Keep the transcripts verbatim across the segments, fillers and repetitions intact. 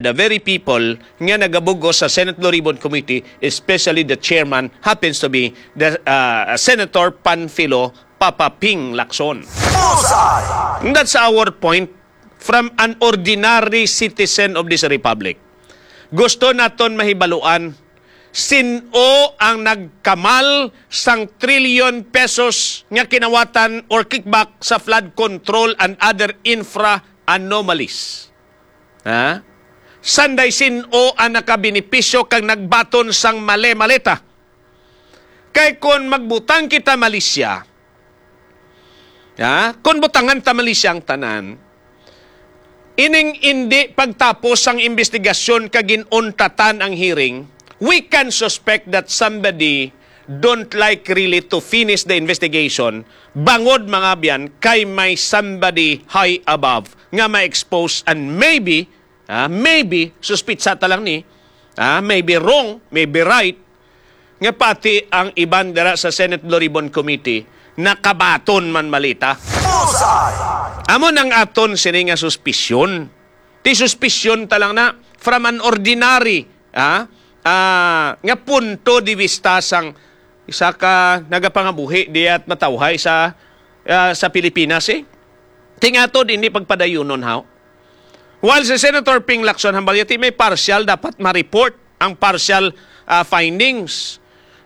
the very people nga nagabugos sa Senate Blue Ribbon Committee, especially the chairman, happens to be the, uh, Senator Panfilo Papa Ping Lacson. Bullseye! That's our point from an ordinary citizen of this republic. Gusto naton mahibaluan sin-o ang nagkamal sang trilyon pesos nga kinawatan or kickback sa flood control and other infra anomalies. Ha? Sanday sin-o ang nakabenepisyo kag nagbaton sang mali-maleta? Kay kon magbutang kita malisya, ha? Kon butangan ta malisya ang tanan, ining indi pagtapos sang imbestigasyon kag gin-untatan ang hearing, we can suspect that somebody don't like really to finish the investigation, bangod, mga abyan, kay may somebody high above nga ma-expose and maybe, ah, maybe, suspitsa ta lang ni, ah, maybe wrong, maybe right, nga pati ang iban dira sa Senate Blue Ribbon Committee nakabaton man malita. Bullseye! Amo nang aton sini nga suspisyon. Ti suspisyon ta lang na from an ordinary, ah, ah, nga punto de vista sang isa ka nagapangabuhi diya at matawhay sa, ah, sa Pilipinas, eh. Tingatod, hindi pagpadayunon, haw? While si Senator Ping Lacson hambal yati may partial, dapat ma-report ang partial, ah, findings.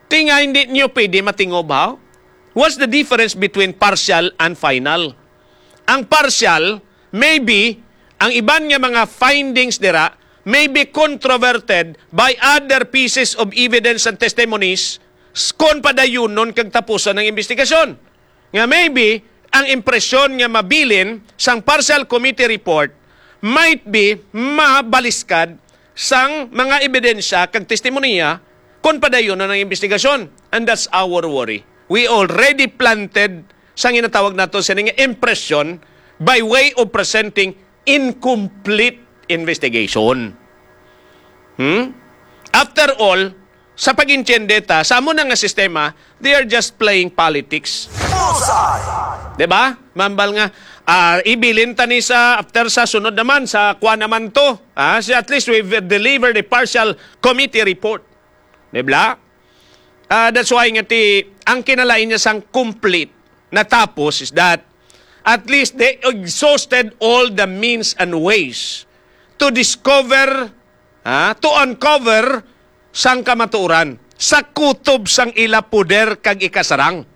Ti nga hindi niyo pwede matingob, haw? What's the difference between partial and final? Ang partial, maybe, ang iban nga mga findings dira may be controverted by other pieces of evidence and testimonies s-, kon padayunon kag tapuson ang investigasyon. Nga maybe, ang impresyon nga mabilin sang partial committee report might be mabaliskad sang mga ebidensya kag testimonya kon padayunon ang investigasyon. And that's our worry. We already planted sang ginatawag nato sini nga impression by way of presenting incomplete investigation. Hmm? After all, sa pag-intindi ta, sa amo na nga sistema, they are just playing politics. Bullseye! Di ba? Mambal nga, ah, ibilin ta ni sa, after sa sunod naman, sa kwa naman to. Ah, si, at least we've delivered a partial committee report. Di ba? Ah, that's why nga ti, ang kinalain niya sang complete natapos is that at least they exhausted all the means and ways to discover, ha, to uncover sang kamatuoran sa kutob sang ila poder kag ikasarang.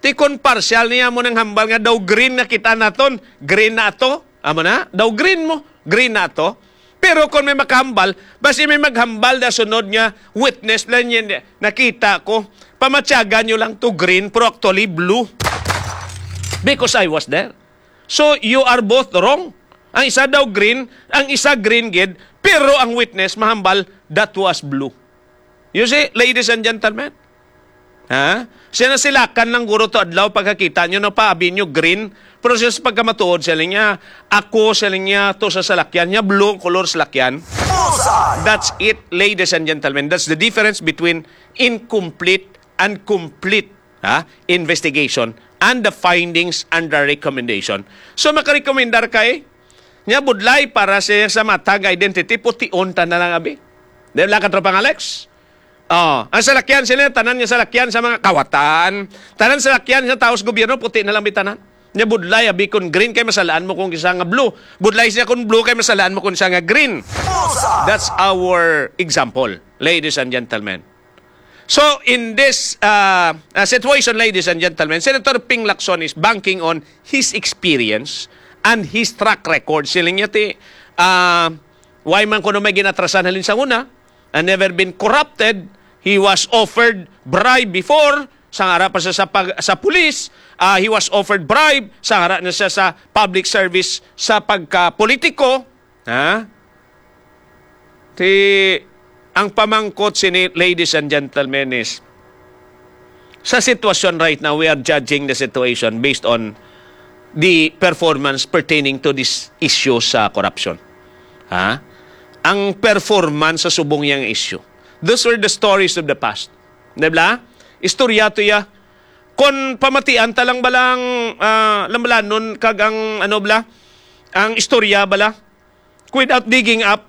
Ti kon partial niya mo nang hambal nga daw green na kita naton, green na ato. Amo na, daw green mo, green na ato. Pero kung may makahambal, basi may maghambal na sunod nga witness lang niya, nakita ko, pamatyagan nyo lang to green, pero actually blue. Because I was there. So, you are both wrong. Ang isa daw green, ang isa green gid, pero ang witness mahambal, that was blue. You see, ladies and gentlemen, ha? Siya na silakan lang guro to adlaw pagkakita nyo na paabi nyo green, pero siya sa pagkamatuod, siya lang niya, ako, siya lang niya, to sa salakyan niya, blue ang color salakyan. Bullseye! That's it, ladies and gentlemen. That's the difference between incomplete and complete, ha, investigation and the findings and the recommendation. So, makarekomendar kay nga budlay para sa, sa matag identity, pution ta na lang, abi. Di ba, Katropang Alex? Oh, ang salakyan sila, tanan nga salakyan sa mga kawatan, tanan salakyan sa taos gobyerno, puti na lang bitanan. Nya budlay, abi, kung green kay masalaan mo kung isa nga blue. Budlay siya kung blue kay masalaan mo kung isa nga green. Bullseye! That's our example, ladies and gentlemen. So, in this, uh, uh, situation, ladies and gentlemen, Senator Ping Lacson is banking on his experience and his track record. Siling niya ti, uh, why man kuno may ginatrasan halin sa una, and never been corrupted. He was offered bribe before, sang ara pa siya sa, pag, sa pulis. Ah, he was offered bribe, sang ara na siya sa public service, sa pagka-politiko. Ha? Ti, ang pamangkot sini, ladies and gentlemen, is, sa sitwasyon right now, we are judging the situation based on the performance pertaining to this issue sa corruption. Ha? Ang performance sa subong yang issue. Those were the stories of the past. Di ba? Istorya to ya. Kon pamatian ta lang bala ang, ah, lambalanon kag ang, ano bala, ang istorya bala, without digging up,